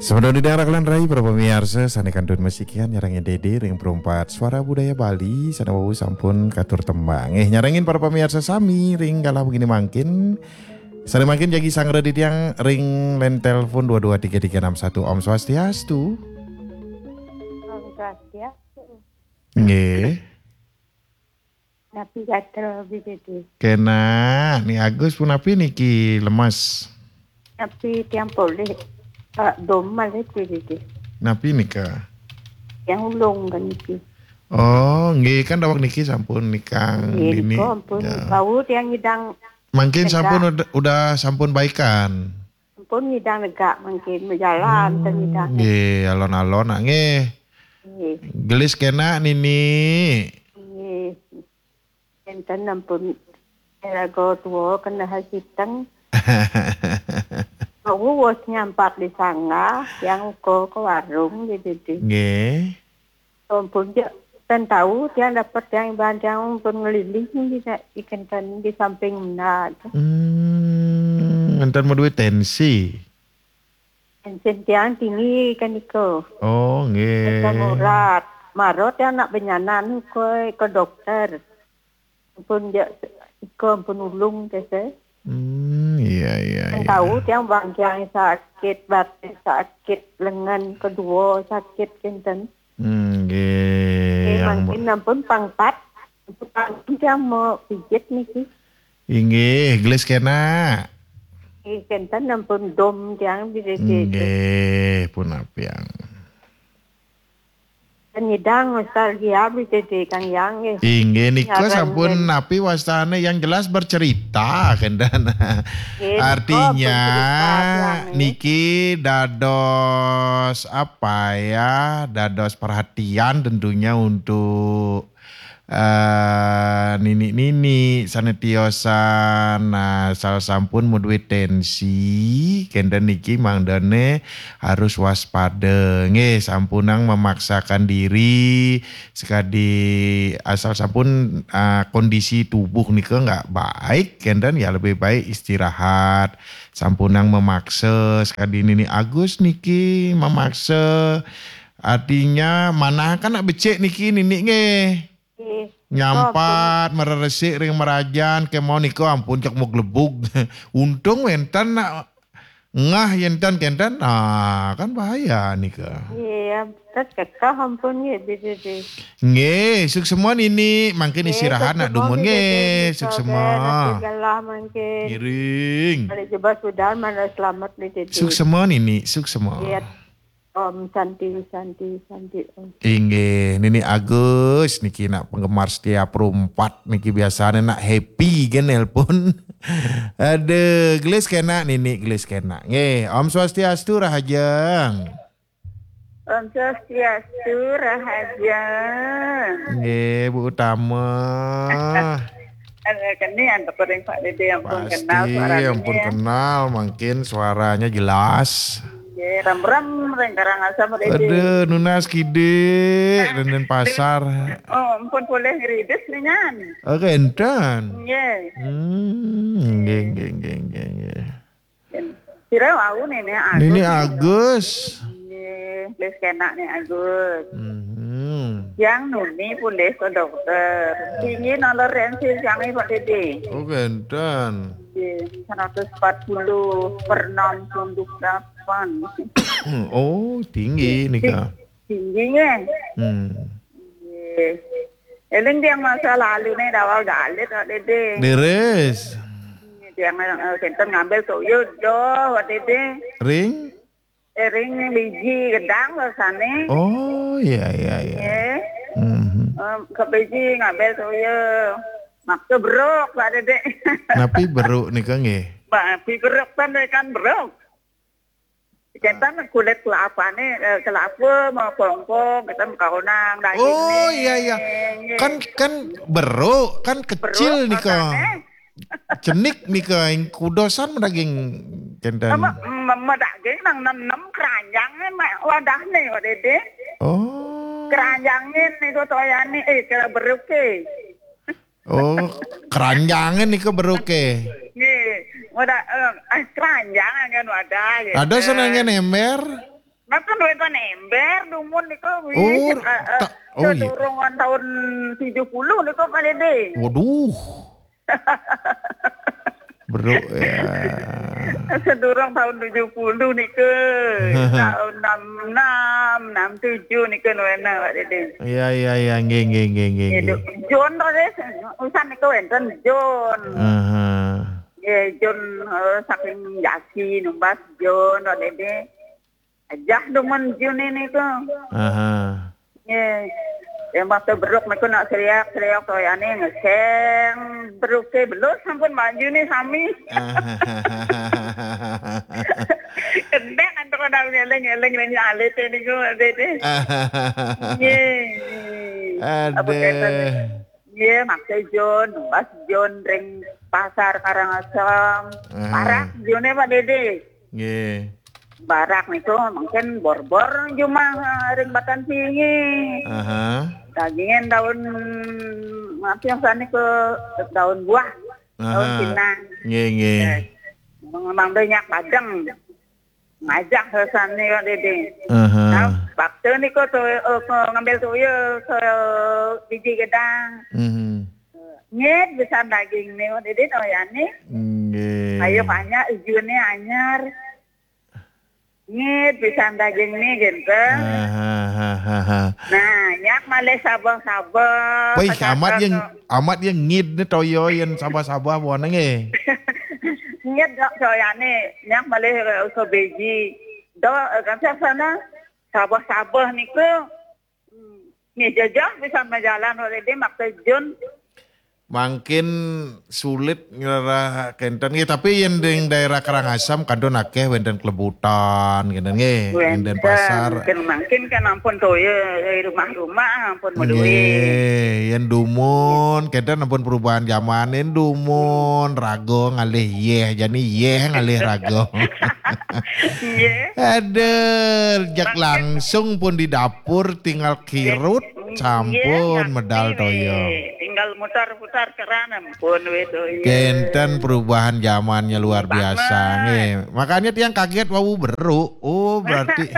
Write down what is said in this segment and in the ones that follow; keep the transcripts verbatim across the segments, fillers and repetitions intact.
Sampun dang rakalan rai para pamiarsa sane kantun masikian nyarengin Dede ring perumpat Suara Budaya Bali sane wau sampun katur tembang. Eh, nyarengin para pamiarsa sami ring galah begini mangkin. Sane mangkin jagi sangra titiang ring line telepon dua dua tiga tiga enam satu. Om Swastiastu. Om Swastiastu. Nggih. Napi gatel, Bi Dede? Kena, Ni Agus punapi niki lemes? Napi tiang polih, eh, dom malih, Bi Dede? Napi nika? Tiang ulung kan niki. Oh, nggih, kan daweg niki sampun nikang Nggih, dini. Nika ampun. Ya. Bau tiang ngidang Mangkin lega. Sampun udah, udah sampun baikan. Sampun ngidang lega mangkin, majalan Hmm, ten ngidang. Nggih, alon-alon nak nggih. Nggih. Gelis kena nini. Nggih. Enten ampun raga tua kena hasiteng. Aku wis nyampat di sangga, yang uko ke warung di didi. Nggih. Ampun je, ten tahu tiang dapat tiang iban tiang ampun ngeliling di, di kenten di samping mena. Hmm, enten maduwe tensi. Tensi tiang tinggi kan nika. Oh, nggih. Asam urat. Mara tiang nak benyanan ke, ke dokter. Ampun je, ika ampun ulung ke se. Hmm, iya, iya, iya. Tahu tiang bangkiang sakit, batin sakit, lengan kedua sakit kenten. Hmm, nggih, Eh, yang mangkin ampun pangkat. Ampun tiang mau pijit niki. Inggih, gelis kena. Eh, kenten ampun dom tiang di dede. Inggih, pun apiang. Nyidang nostalgia bisa di Kang Yang, nggih. Inggih, nika Ngaran sampun nggih. Napi wastane yang jelas bercerita, kenten. Nggih, nika Artinya, bercerita, Yang, nggih. Niki dados apa ya? Dados perhatian tentunya untuk, eh, nini-nini sane tiosan. Nah, asal sampun maduwe tensi, kenten niki mangdane harus waspada. Nggih, sampunang memaksakan diri, sekadi asal sampun, ah, kondisi tubuh nika nggak baik, kenten ya lebih baik istirahat. Sampunang memaksa, sekadi Nini Agus niki memaksa. Artinya, manah kan nak becik niki nini nggih. Nggih. Nyampat, mareresik ring merajan, kemawon nika ampun cek muglebug. Untung wenten nak ngah yen tan kenten, ah, kan bahaya nika. Iya, terus kekeh ampun nggih, Bi Dede. Nggih, suksema nini, mangkin nggih, istirahat nak suksema dumun nggih, nggih. Suksema. Nanti galah mangkin. Ngiring. Balik jebas udan, mana selamat, Bi Dede. Suksema nini, suksema. Iya. Om Santi, Santi, Santi, Om. Inggih, Nini Agus niki nak penggemar setia perumpat niki biasane nak happy kan nelpon. Aduh, gelis kena Nini, gelis kena. Nggih, Om Swastiastu, Rahajeng. Om Swastiastu, Rahajeng. Nggih, Bu Utama. Ada kene antuk ring Pak Dede, ampun kenal suaranya. Pasti, ampun kenal, mangkin suaranya jelas. Nggih, rem-rem ring Karangasem, Pak Dede. Aduh, nunas kidik, Dendenpasar. Oh, ampun polih ngridis ningan. Oh, kenten. Nggih. Hmm, nggih, nggih, nggih, nggih, nggih. Sira wau Nini Agus. Nini Agus. Nggih, wis kenak Nini Agus. Mhm. Yang nuni polih ke dokter. Tinggi toleransi sami, Pak Dede. Oh, kenten. Nggih, seratus empat puluh per enam puluh delapan. Oh, tinggi nika. Tinggi nggih. Hmm. Nggih. Eling tiang masa lalu nih dawal galit, Pak Dede. Leres. Tiang, eh, kenten ngambil toya doh, Pak Dede. Ring? Eh, ring biji gedang rasane. Oh, iya, iya, iya. Nggih. Mhm. Em, ke biji ngambil toya. Maksa beruk, Pak Dede. Napi beruk nika nggih? Napi beruk kan, kan beruk. Kenten kulit kelapane, eh, kelapa mau kongkong, kenten kaonang daging. Oh, iya, iya. Nggih. Kan, kan beruk, kan kecil nika. Beruk rasane. Cenik nika, ing kudosan daging kenten. Ama, em, em, daging nang nem-nem keranjang, em, wadahne, Pak Dede. Oh. Keranjangin niku toyane, eh, kira beruke. Oh, keranjangin niku beruke. Nggih, wadah, eh, eh, keranjang kan wadah, gitu. Ada senengnya ember? Nah, kan wénten ember dumun niku, wih, Oh, seka-, eh, ta-, oh, iya. Sedurung tahun tujuh puluh niku, Pak Dede. Waduh. Bro, ya. Sedurung tahun tujuh puluh niku. Tahun enam enam, enam tujuh niku nuwena, Pak Dede. Iya, iya, iya, nggih, nggih, nggih, nggih, Nggih, nggih. Jon to, Dede. Usan niku wénten Jon. Aha. Nggih, Jon, eh, saking Jasi numbas Jon, Pak Dede. Ajah dumun June niku. Aha. Nggih. Ya, waktu beruk niku nak seriak-seriak toyane ngeseng. Beruke belus sampun Mbak June sami. Aha. Kendek antuk ada ngeleng-ngeleng ning alite niku, Dede. Aha. Nggih. Apa kenten? Aduh. Nggih, maksud Jon, pas Jon ring pasar Karangasem. Aha. Parak June, Pak Dede. Nggih. Barak niku mungkin borbor jumah, eh, ring Batan Tinggi. Aha. Dagingin daun, apa yang sana ke daun buah, daun Aha. Pinang. Nggih, nggih. Eh, memang banyak padang. Ngajak sesane kok, Dede. Aha. Nah, waktu niku tuh, eh, ke ngambil tuyul ke biji gedang. Mhm. Nyet bisa daging niku, Dede, toyane. Nggih. Ayo banyak ijune anyar. Nyit pisan daging ni, genten. Hahaha. Nah, nyak malih sabeh-sabeh. Wih, amat yang, amat yang ngid ni toyo yang sabeh-sabeh buana nggih. Nyit dok soyane, nyak malih, eh, ke beji. Dok, eh, kan sana sabeh-sabeh niku. Hmm. Nggih, jejeh pisan majalan already maksud Jun. Mangkin sulit ngerah kenten nggih, tapi yen ring daerah Karangasem kantun akeh wenten klebutan kenten nggih, wenten pasar. Mungkin, mungkin kan ampun toya, eh, rumah-rumah ampun meduwe. Nggih, yen dumun kenten ampun perubahan zaman, yen dumun raga ngalih yeh, jani yeh ngalih raga. Nggih. Aduh, jak langsung pun di dapur tinggal kirut. Sampun medal toya. Tinggal mutar-putar keran ampun wis toya. Kenten perubahan zamannya luar biasa nggih. Makanya tiang kaget wau beru. Oh, berarti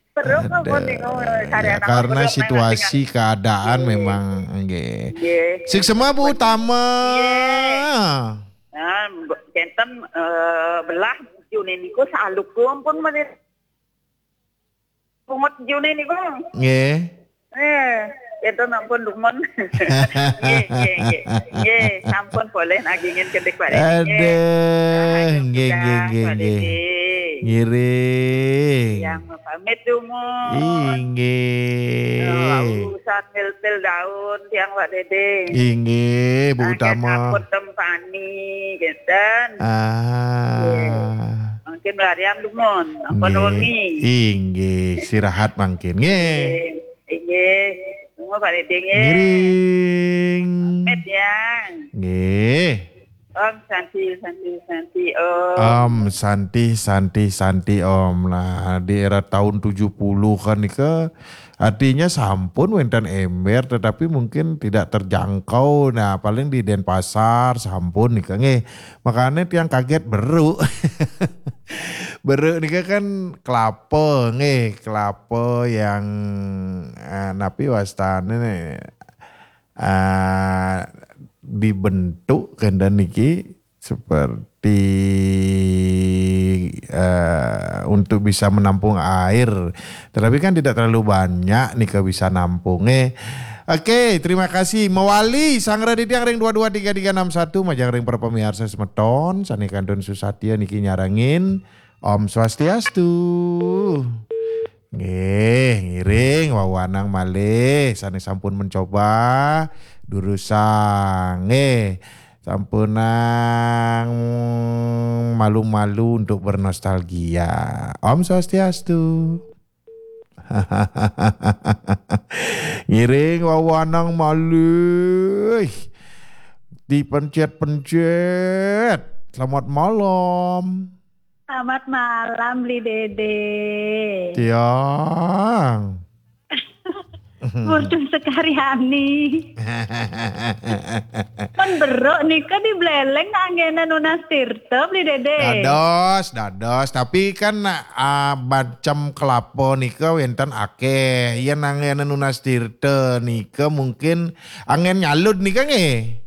beru ampun niku, ya, karena situasi keadaan memang nggih. Nggih. Siksema Bu Utama. Nggih. Nah, kenten, eh, belah June niku saluku ampun menit. Pungut June niku. Nggih. Eh, itu ampun dumun. Nggih, nggih, nggih. Nggih, sampun boleh nagingin kendik balik. Aduh, nggih, nggih, nggih, nggih. Ngiring. Yang pamit dumun. Inggih. Oh, urusan mil-mil daun tiang Pak Dede. Inggih, Bu Utama. Sampun tempani, genten. Ah. Nggih. Mangkin larian dumun, ampun wengi. Inggih, istirahat mangkin. Nggih. Nggih. Nggih. Tunggu Pak Dede nggih. Ngiring. Pamit ya. Nggih. Om Santi, Santi, Santi, Om. Om Santi, Santi, Santi, Om. Nah, di era tahun tujuh puluhan nika artinya sampun wenten ember tetapi mungkin tidak terjangkau. Nah, paling di Denpasar sampun nika nggih. Makanya tiang kaget beru. Beru nika kan kelapa nggih, kelapa yang, eh, napi wastane nih, eh, dibentuk kenten niki seperti, eh, untuk bisa menampung air. Tetapi kan tidak terlalu banyak nika bisa nampung, eh. Oke, terima kasih. Mawali, sanggra titiang ring dua dua tiga tiga enam satu, majeng ring para pamiarsa semeton, sane kantun susatia niki nyarengin. Om Swastiastu. Nggih, ngiring wawanang malih sane sampun mencoba durusang. Nggih. Sampunang malu-malu untuk bernostalgia. Om Swastiastu. Ngiring wawanang malih. Dipencet-pencet. Selamat malam. Selamat malam, Bli Dede. Tiang. Putun Sekaryani. Pun beruk nika di Buleleng nak anggena nunas tirta, Beli Dede. Dados, dados. Tapi kan ah, macam kelapa nika wenten akeh. Yen anggena nunas tirta nika mungkin anggen nyalud nika nggih.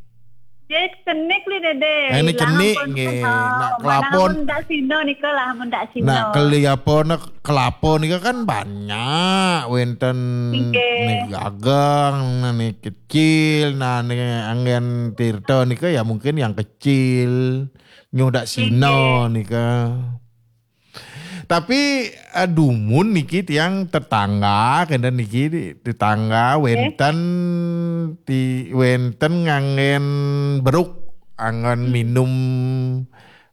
Dia cenik, Beli Dede. Eh, ini Ilang cenik pun nggih. kenal. Nak Mana kelapon. Mun dak sino nika lah, mun dak sino. Nah, kelapa kelapa nika kan banyak wenten Nggih. nih gagang, nah nih kecil, nah nih anggen tirta nika ya mungkin yang kecil. Nyuh dak sino nika. Tapi eh, dumun niki tiang tetangga kenten niki tetangga wenten ti wenten nganggen beruk anggen minum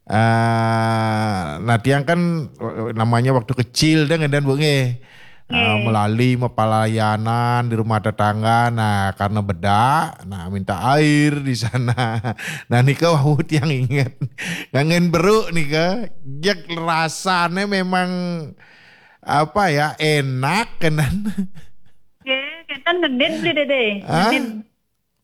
eh nah tiang kan eh, namanya waktu kecil dah ngendan bu nggih. Ah, melalui pelayanan di rumah tetangga, nah karena bedak, nah minta air di sana. Nah nika wau tiang inget, ngangen beruk nika, jek rasanya memang apa ya enak kenan. Nggih, kenten ngenit, Beli Dede. Hah? Ngenit.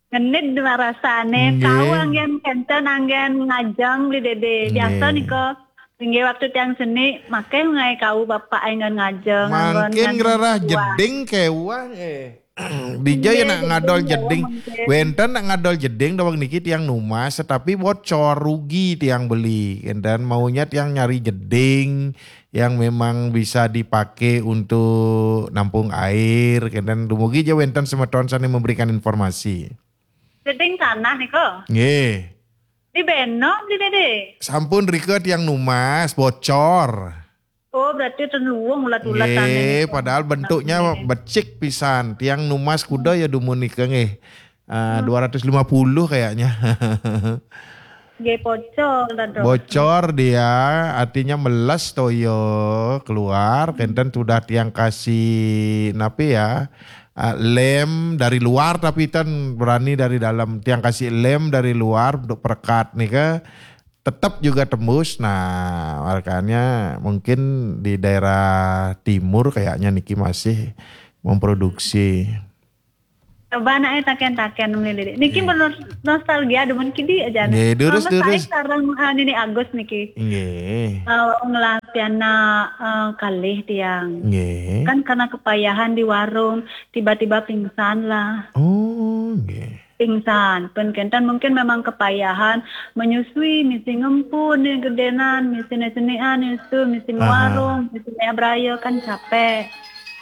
Ngenit dengan rasane. Nggih. Kau anggen kenten anggen ngajeng, Beli Dede. Biasa Nggih. Nika. Nggih, waktu tiang seni, makai ngai kau bapak anggen ngajeng. Mangkin gerarah jeding kewah eh. Bija ya nak ngadol jeding. Wenten nak ngadol jeding dawang niki tiang numas, tetapi bocor, rugi tiang beli. Dan maunya tiang nyari jeding yang memang bisa dipakai untuk nampung air. Dan dumugi aja wenten semeton sana memberikan informasi. Jeding tanah niko. Nggih. Di Beno, Beli Dede. Sampun rika tiang numas bocor. Oh, berarti ten luwung ulat-ulat Nggih, padahal bentuknya becik pisan. Tiang numas kuda ya dumun nika nggih. Ah, dua ratus lima puluh kayaknya. Nggih, bocor lah, Dok. Bocor dia, artinya meles toyo keluar. Kenten sudah tiang kasih napi ya, ah, lem dari luar, tapi ten berani dari dalam. Tiang kasih lem dari luar untuk perekat nika, tetap juga tembus. Nah, makanya mungkin di daerah timur kayaknya niki masih memproduksi. Coba anaknya taken-taken, Beli Dede. Niki menurut nostalgia demen kidi aja. Nggih, durus, Mama saya durus. Sekarang ah, Nini Agus niki. Nggih. Uh, ngelah piana uh, kalih tiang. Nggih. Kan karena kepayahan di warung, tiba-tiba pingsan lah. Oh, nggih. Pingsan. Pun kenten mungkin memang kepayahan menyusui, misi ngempun nih gedenan, misi senian itu, misi Aha. Warung, misi beraya kan capek.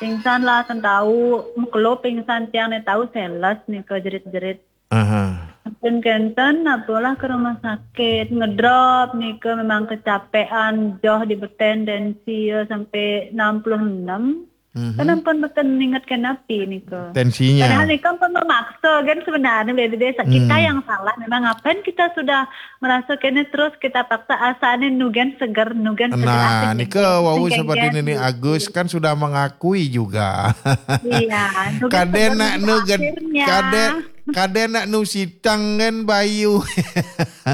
Pingsan lah, ten tahu, mekelo pingsan tiang nih tahu seles nih ke jerit-jerit. Aha. Pun kenten, apalah ke rumah sakit, ngedrop nih ke memang kecapean, joh di beten tensi ya sampai enam puluh enam. Mhm. Kan ampun beten inget ke napi nih ke. Tensinya. Padahal nih kan pun memaksa kan sebenarnya Beli Dede. Kita yang salah memang ngapain kita sudah merasa kene terus kita paksa asane nugen seger nugen seger Nah, asik nika nih. wau Nugen seperti kan. Nini Agus kan sudah mengakui juga. Iya, nugen Kadang seger nak nugen nugen, akhirnya. kadang kadang nak nu sitang kan bayu.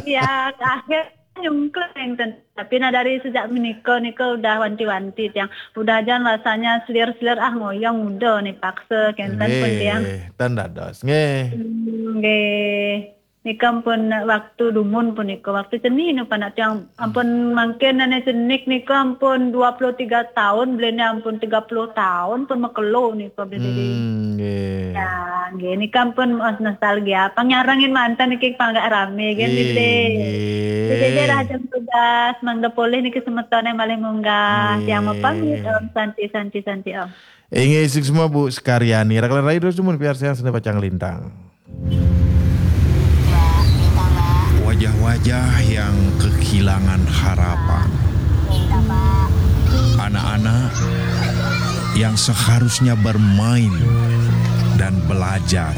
Iya, akhir nyungkling ten. Tapi nah dari sejak menikah nika udah wanti-wanti tiang. Udah aja rasanya selir-selir ah ngoyong udah nih paksa kenten pun tiang. Nggih, ten dados. Nggih. Hmm, nggih. Nika pun waktu dumun pun nika waktu ceni nu panak tiang ampun mangkin nane cenik nika ampun dua puluh tiga tahun belene ampun tiga puluh tahun pun mekelo nika beli diri. Hmm, nggih. Ya, nggih nika pun oh, nostalgia. Panyarengin mantan niki panggak rame nggih beli diri. Nggih. Jadi dia dah jam tugas mangda polih niki semetone malih munggah. Tiang mau pamit om santi santi santi om. Inggih suksma Bu Sekaryani. Rakan rai terus dumun piar siang sene pacang lintang. Wajah-wajah yang kehilangan harapan. Anak-anak yang seharusnya bermain dan belajar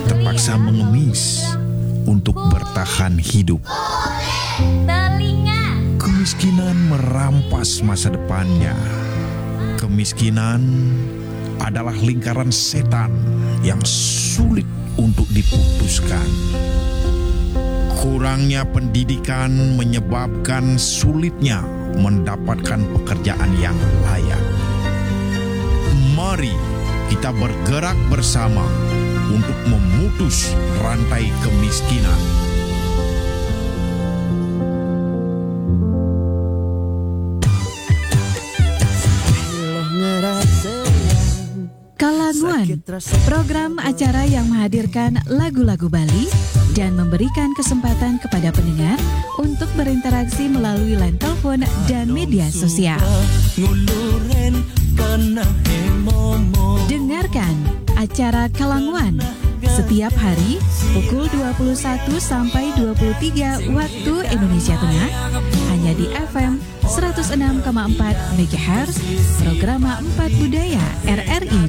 terpaksa mengemis untuk bertahan hidup. Telinga. Kemiskinan merampas masa depannya. Kemiskinan adalah lingkaran setan yang sulit untuk diputuskan. Kurangnya pendidikan menyebabkan sulitnya mendapatkan pekerjaan yang layak. Mari Kita bergerak bersama untuk memutus rantai kemiskinan. Kalanguan, program acara yang menghadirkan lagu-lagu Bali dan memberikan kesempatan kepada pendengar untuk berinteraksi melalui line telepon dan media sosial. Dengarkan acara Kalanguan setiap hari pukul dua puluh satu sampai dua puluh tiga waktu Indonesia Tengah, hanya di F M seratus enam koma empat megahertz, Programa Empat Budaya R R I